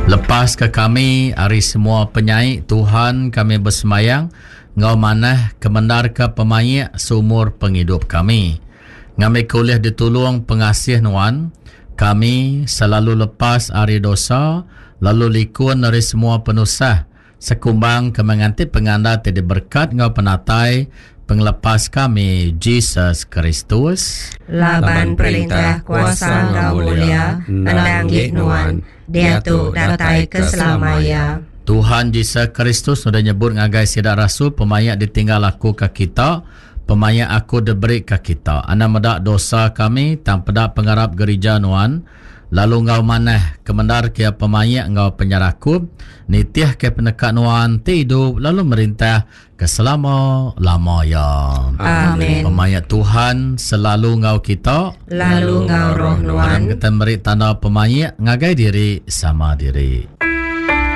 Lepaska kami ari semua penyai, Tuhan, kami besembayang enggau manah kemendarka pemaik seumur pengidup kami. Ngambika ulih ditulung pengasih Nuan, kami selalu lepas ari dosa lalu likun ari semua penusah, Sekumbang ke menganti penganda ti diberekat enggau penatai Pengelepas kami, Jesus Kristus. Laban perintah, kuasa enggau mulia endang enggi Nuan, diatu datai ke selama iya. Tuhan Jesus Kristus udah nyebut ngagai sida rasul pemaik ditinggal aku ke kita, pemaik aku diberi ke kita. Anang meda dosa kami tang peda pengarap gerija nuan. Lalu enggau manah, kemendarka iya pemaik enggau penyerakup, nitihka peneka Nuan ti idup lalu merintah ke selama-lama iya. Amin. Pemaik Tuhan selalu enggau kita. Lalu enggau roh nuan. Aram kita meri tanda pemaik ngagai diri sama diri.